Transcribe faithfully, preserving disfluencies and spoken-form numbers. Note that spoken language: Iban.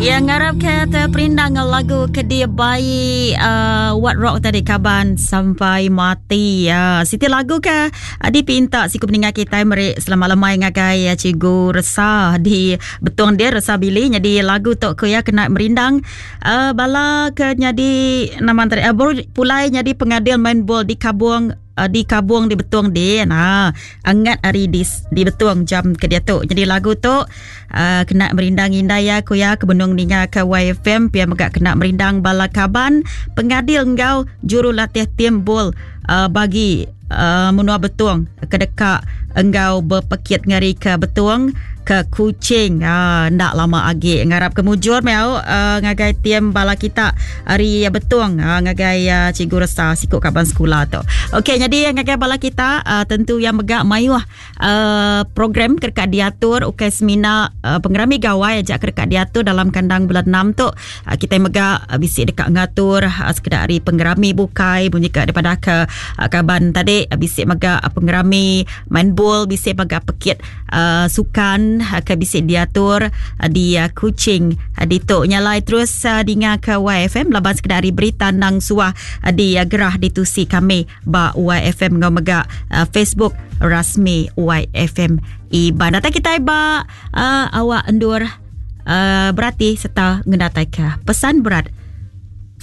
Yang ngarap ke terperindang lagu ke dia bayi uh, What Rock tadi kaban sampai mati ya. Uh, siti lagu ke uh, dipinta siku peninggal kita meri selamat lemai ngagai uh, Cikgu Resa di Betong dia Resa Billy jadi lagu tok ku ya kena merindang uh, bala ke jadi nama antara uh, baru pulai jadi pengadil main bol di Kabung uh, di Kabung di Betong di nah angat hari di di Betong jam ke dia tu. Jadi lagu tu uh, kena merindang indai ya ku ya ke benung ninga ke Y F M pia mega kena merindang bala kaban pengadil enggau jurulatih tim bol uh, bagi uh, menua Betong ke dekat enggau berpekit ngari ke Betong ke Kuching. Ah, ndak lama agi ngarap ke mujur mau uh, ngagai tim bala kita hari Betong uh, ngagai uh, Cikgu Resa sikuk kaban sekolah tu. Okey, jadi ngagai bala kita uh, tentu yang megak mayuh uh, program kerkat diatur ukai semina uh, pengerami gawai ajak kerkat diatur dalam kandang bulan enam tu. Uh, kita megak uh, bisik dekat ngatur uh, sekedar hari pengerami bukai bunyi ke daripada ke uh, kaban tadi uh, bisik megak uh, pengerami main bol bisik megak pekit uh, sukan ke bisik diatur di Kuching di tok nyalai terus dengar ke Y F M laban sekedar berita nang suah di gerah ditusi kami ba Y F M ngau mega Facebook rasmi Y F M Iban. Datang kita ba uh, awak endur uh, berarti serta ngedatai ke pesan berat